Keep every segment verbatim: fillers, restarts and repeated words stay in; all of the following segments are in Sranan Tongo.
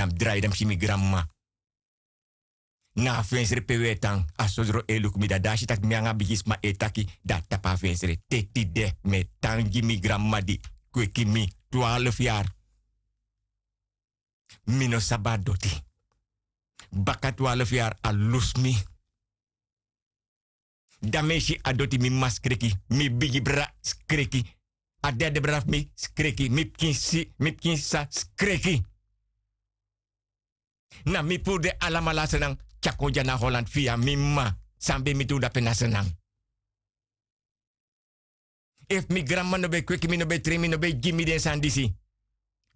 mi drai dan mi si mi granmama. Na a fensre pe un e tan, a sodro e luku mi dati dan a si tak' mi nanga bigisma e taki. Dan a tapu a fensre te tide mi e tan gi mi granmama di kweki mi twarfu yari. Mi no sabi a doti. Baka twarfu yari a lusu mi. Dan mi e si a doti mi mama skreki, mi bigi brada skreki, a derde brada fu mi skreki, mi pikin sisa skreki. Na mi puru den alamala a sran tyari kon dya na holand fi a mi mama. San ben miti un dape na sran. Efu mi granmama no ben kweki mi no ben tren mi no ben gi mi den sani disi.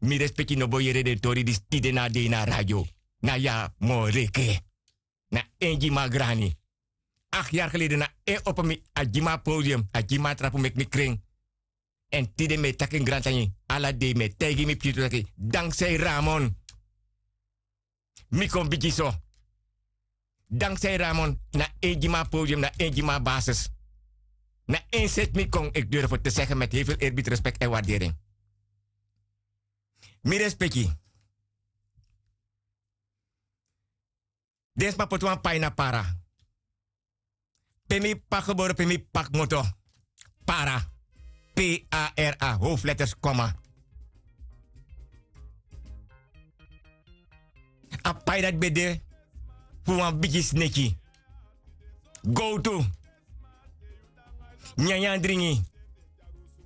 Mi respeki no bo yere den tori disi tide na a dei na a radio. Na ya moreke. Na en gi mi a grani. Akti yari gelede na en opo mi a gi mi a podium a gi mi a trapu meki mi kren. Èn tide mi e taki en grantangi ala dei mi e taigi mi pikin tu taki danksei ramon. Mi kon bigi so. Danksei ramon na en gi mi a podium na en gi mi a basis. Na en seti mi kon eki duru fu te segen meti heifel erbiti respeki èn wardering. Mi respeki. Den sma poti wan pai na para. Pe mi p'pa gebore pe mi p'pa kmoto. Para. P-a-r-a howfletters koma. A pai dati ben de fu wan bigi sneki. Gowtu. Nyanyan dringi.